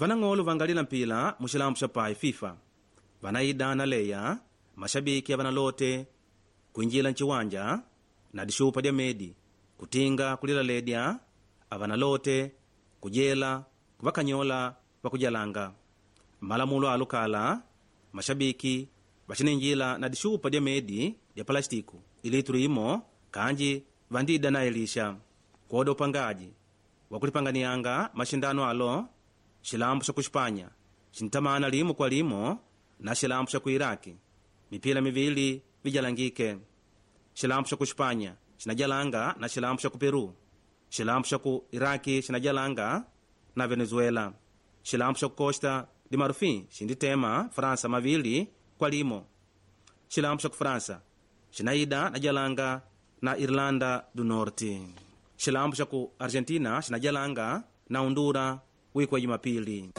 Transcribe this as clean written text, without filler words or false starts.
Vanang'olo vangalila mpila muxilambo xa pai FIFA vanaida na leya mashabiki avanalote kuinjila nchiwanja na dixupa dya medi kutinga kulilaledya avanalote kujela kuvakanyola vakujalanga. Malamulo alukala mashabiki vaxininjila na dixupa dya medi dya palastiku ilitulu imo kanji vandida na elisha kwoda upangaji wakulipanganianga maxindano alo. Xilambo xa kuxipanya xintamana limo kwa limo na xilambo xa ku Iraki mipila mivili vijalangike. Xilambo xa kuxipanya xinajalanga na xilambo xa ku Peru. Xilambo xa ku Iraki xinajalanga na Venezuela. Xilambo xa ku Costa de Marfim xinditema França 2-1. Xilambo xa ku França xinaida na jalanga na Irlanda do Norte. Xilambo xa ku Argentina xinajalanga na Honduras wiki wa Jumapili.